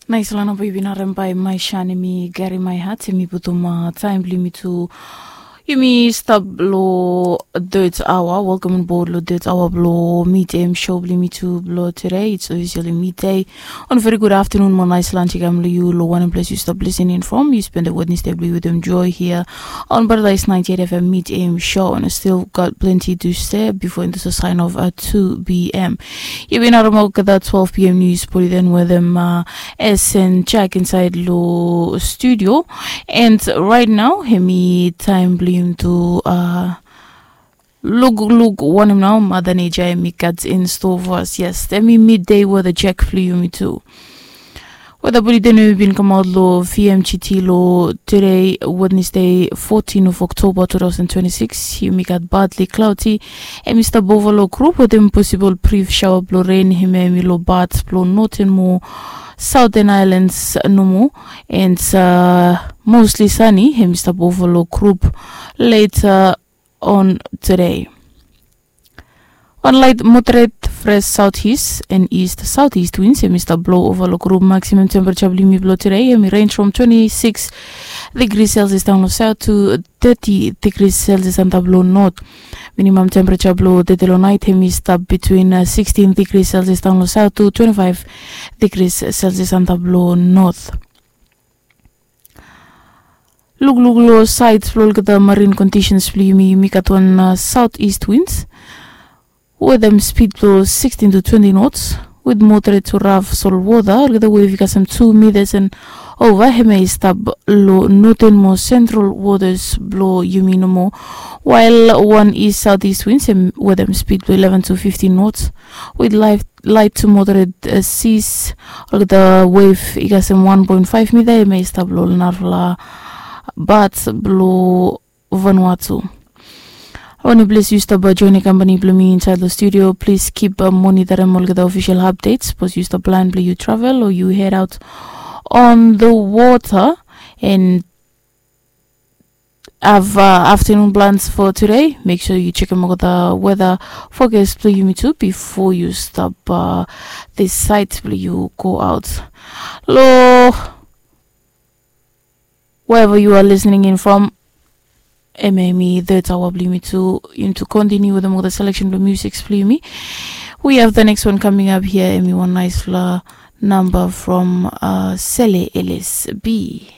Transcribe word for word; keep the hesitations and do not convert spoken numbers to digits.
Naispela namba yu bin harem bai mai shan, em i gari mai hat, em i putum taim bilong yumi tu. Yumi stap long third hour. Welcome on board long third hour bilong midday show bilong yumi tu bilong today. It's officially midday. On very good afternoon mo nice lunch i kam long yu long wanem ples yu stap listening from. Yu spend the Wednesday bilong yu with enjoy here on Paradise ninety-eight F M midday show, and I still got plenty to say before into the sign of uh, two p.m. Yu bin harem olgeta twelve p.m. news put it in with them uh, S N Jack inside lo studio. And right now, hemi time blim to uh, look look wanem nao mother nature hemi got in store for us. Yes, hemi midday weather check flu yumi too. Weather bulletin we bin come out lo V M G T lo today, Wednesday, fourteen of October two thousand twenty-six. Yumi got partly cloudy. Hemi stap over lo group with them possible brief shower blo rain. Hemi hemi lo part blo northern mo southern islands nomo, and uh, mostly sunny. Hemi stap over lo group later on today. One light moderate fresh southeast and east southeast winds hemi stap blow over lo group. Maximum temperature blo yumi blo today hemi range from twenty-six degrees Celsius down lo south to thirty degrees Celsius antap lo north. Minimum temperature blo today lo night hemi stap between uh, sixteen degrees Celsius down lo south to twenty-five degrees Celsius antap lo north. Lukluk lo side blo olgeta marine conditions blo yumi, yumi gat wan uh, southeast winds with them speed blo sixteen to twenty knots with moderate to rough salt water. Olgeta wave i kasem two meters and over. Hemi stap lo northern mo central waters blo yumi nomo, while one east southeast winds with them speed blo eleven to fifteen knots with light, light to moderate uh, seas. Olgeta wave i kasem one point five meter. Hemi stap lo narafala bat blo Vanuatu. Oni ples yu stap join company blo mi inside the studio. Please keep uh, monitoring olgeta official updates. Suppose yu stap plan blo yu travel or yu head out on the water and have uh, afternoon plans for today. Make sure you check out the weather forecast blo yumi too before you stop uh, this site blo yu go out. Lo wherever you are listening in from, hemi third hour blo yumi tu. Yumi tu continue with the selection blo music blo yumi. We have the next one coming up here. Hemi one nice la number from uh, Sele L S B.